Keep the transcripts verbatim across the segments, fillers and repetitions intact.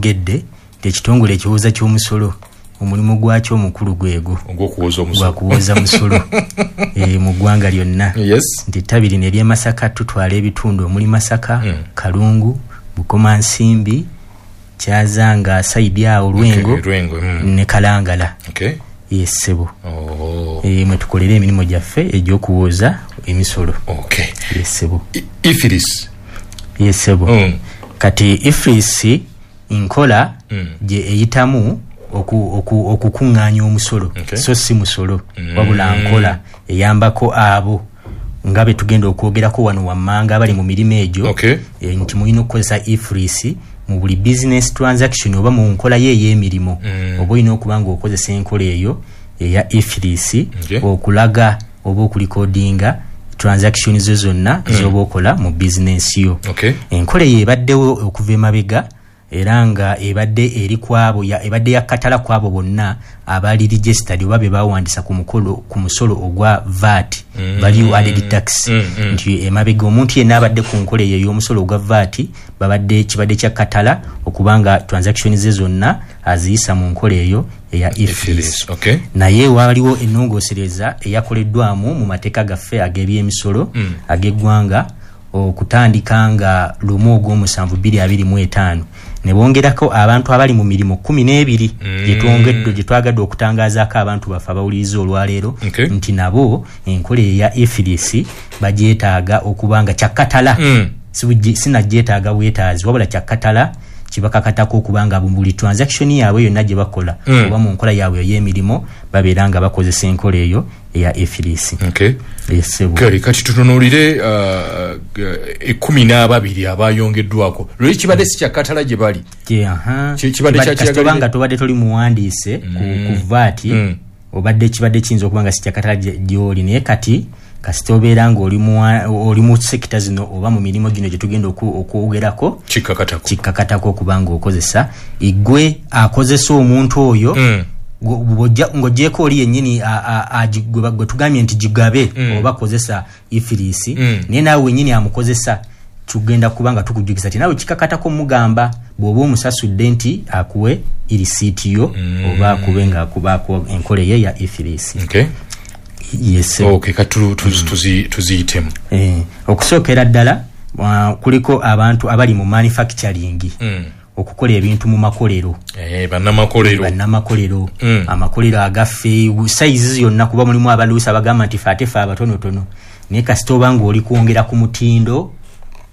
bwogedde nti ekitongole ekiwooza ky'omusolo omulimu gwakyo omukulu gwego ogw'okuwooza omusolo, gwakuwooza musolo e, mu ggwanga lyonna. Yes. Nti ettabi lino ery'e Masaka tutwala ebitundu omuli Masaka, Mm. Kalungu, Bukomansimbi, Kyazanga side awo, Lwengo. Okay, Lwengo, mm. Ne Kalangala. Okay. Yes, ssebo. Oh. E, mwe tukolera emirimu gyaffe egy'okuwooza emisolo. Okay. Yes, ssebo. I- EFRIS. Yes, ssebo. Mm. Kati EFRIS nkola Mm. gye eyitamu oku- oku- okukuŋŋaanya omusolo. Okay. So si musolo, Mm. wabula nkola eyambako abo nga be tugenda okwogerako wano wammanga abali mu mirimu egyo, Okay. e, nti mulina okukozesa EFRIS mu buli business transaction oba mu nkola ye ey'emirimu. Mm. Oba olina okuba nga okozesa enkola eyo eya EFRIS Okay. okulaga oba okurecordinga transaction zo zonna mm. zoba okola mu bizinensi yo. Okay. Enkola eyo ebaddewo okuva emabega era nga ebadde eri kwabo ya, ebadde yakatala kwabo bonna abali registered oba be bawandisa ku mukolo ku musolo ogwa V A T, Mm. value added tax, Mm, mm. nti emabega omuntu yenna abadde ku nkola eyo ey'omusolo ogwa V A T babadde kibadde kya katala okubanga transaction ze zonna aziyisa mu nkola eyo eya EFRIS. EFRIS. Okay. Naye waliwo ennongoosereza eyakoleddwamu mu mateeka gaffe ag'ebyemisolo Mm. ag'eggwanga okutandika nga lumu ogw'omusanvu bbiri abiri mu etaano, ne bongerako abantu abali mu mirimu kumi n'ebiri Mm. gyetwongedde gye twagadde okutangazaako abantu baffe abawuliriza olwaleero, Okay. nti nabo enkola eya EFRIS bagyetaaga okuba nga kyakkatala. Mm. Sibujje- sinagyetaaga bwetaazi, wabula kyakkatala kibakakatako okuba nga buli transaction yaabwe yonna gye bakola Mm. oba mu nkola yaabwe ey'emirimu babeera nga bakozesa enkola eyo eya EFRIS. Okay. Yes, ssebo. Kale kati tutunuulire uh, ekkumi n'ababiri abayongeddwako. Lweri kibadde si kyakkatala gye bali. Kye, aha. Ki- kibadde Kibadde- kya kasita oba kiyagalire? nga tobadde toli muwandiise ku, ku V A T, Mm. obadde kibadde kiyinza okuba nga si kyakatala gye- gy'oli, naye kati kasita obeera nga oli muwa- oli mu sector zino oba mu mirimu gino gye tugenda oku- okwogerako, Kikkakatako. Kikkakatako okuba nga okozesa igwe akozesa omuntu oyo. Mm. Gwe- bw'ojja- ng'oggyeko oli yennyini a- a- agi- gwe ba- gwe tugambye nti gigabe Mm. oba kozesa EFRIS, Mm. naye naawe wennyini amukozesa tugenda kuba nga tukujjukiza ti naawe kikakatako mugamba bw'oba omusasudde nti akuwe irisiiti yo Mm. oba akube nga akubaako enkola ye ya EFRIS. Okay. Yes. Okay, kati tu- tuzi- tuzi- tuziyitemu. Eh, okusookera ddala uh, kuliko abantu abali mu manufacturing, Mm. okukola ebintu mu makolero. Eh, bannamakolero. Bannamakolero. Mm. Amakolero agaffe sayizi yonna, kuba mulimu abaluusi abagamba nti fe ate fe abatonotono, naye kasita oba nga oli kwongera ku mutindo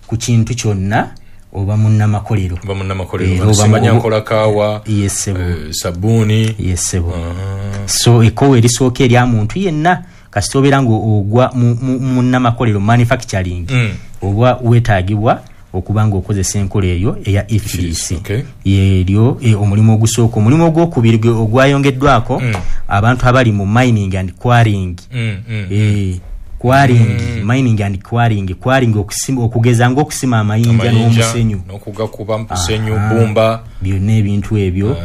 ku kintu kyonna oba munnamakolero. Ba munnamakolero. Era oba simanya mu- nkola kaawa, Yes, ssebo. eh, sabbuuni. Yes, ssebo. Ah. So ekkowa erisooka erya muntu yenna kasita obeera nga ogwa mu- mu- munnamakolero, manufacturing, Mm. oba weetaagibwa okuba nga okozesa enkola eyo eya EFRIS. Okay. Yeryo e, omulimu ogusooka. Omulimu ogwokubiri gwe- ogwayongeddwako, Mm. abantu abali mu mining and quarrying. Mm, mm. Eh, quarrying, mining and quarrying, quarrying okusima, okugeza ng'okusima amayinja Amayinja, n'omusenyu. N'okugakuba musenyu, Aha. bbumba. Byonna ebintu ebyo,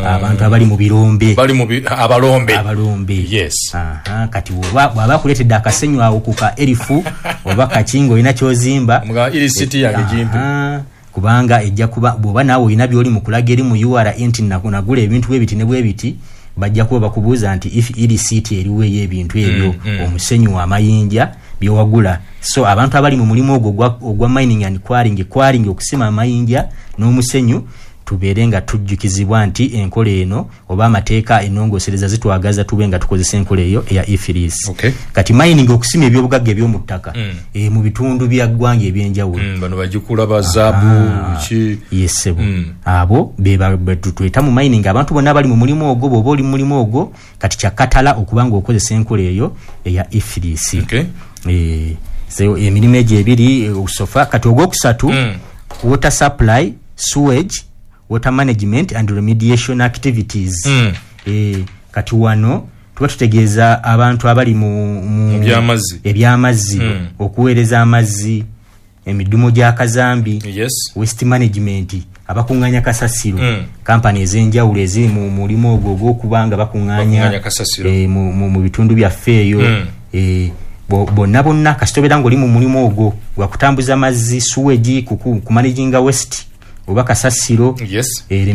Ah. abantu abali mu birombe. Bali mu bi- abalombe. Abalombe. Yes. Aha, kati bw'oba bw'aba akuleetedde akasenyu awo ku ka erifu oba kakinga olina kyozimba, Mga irisiti yange gimpe. Aha, kubanga ejja kuba bw'oba naawe olina byoli mu kulaga eri mu U R A nti nagu- nagula ebintu bwe biti ne bwe biti, bajja kuba bakubuuza nti if irisiiti eriwo ey'ebintu ebyo, Mm, mm. omusenyu, amayinja byewagula. So abantu abali mu mulimu ogwo ogwa- ogwa mining and quarrying, quarrying okusima amayinja n'omusenyu, tubeere nga tujjukizibwa nti enkola eno oba amateeka ennongoosereza zitwagaza tube nga tukozesa enkola eyo eya EFRIS. Okay. Kati mining, okusima ebyobugagga eby'omu ttaka Mm. e, mu bitundu bya ggwanga ebyenjawulo. Mm, bano bagikula ba zaabu Ah, ki. Yes, ssebo. Mm. Abo be tweta mu mining, abantu bonna abali mu mulimu ogwo. Bw'oba oli mu mulimu ogwo kati kyakatala okuba nga okozesa enkola eyo eya EFRIS. Okay. Eh, so emirimu egyo ebiri eh, so far. Kati ogwokusatu, Mm. water supply, sewage, water management and remediation activities. Mm. Eh, kati wano tuba tutegeeza abantu abali mu, mu Mu by'amazzi. Ebyamazzi, Mm. okuweereza amazzi, emidumu gya kazambi, Yes. waste management, abakuŋŋanya kasasiro, Mm. kampani ez'enjawulo eziri mu mulimu ogwo ogw'okuba nga Bakuŋŋaanya bakuŋŋanya kasasiro. eh, mu, mu, mu bitundu byaffe eyo. Mm. eh, bo- bonna bonna kasita obeera ng'oli mu mulimu ogwo gwakutambuza mazzi, sewage, kumanaginga waste oba kasasiro, Yes. eh,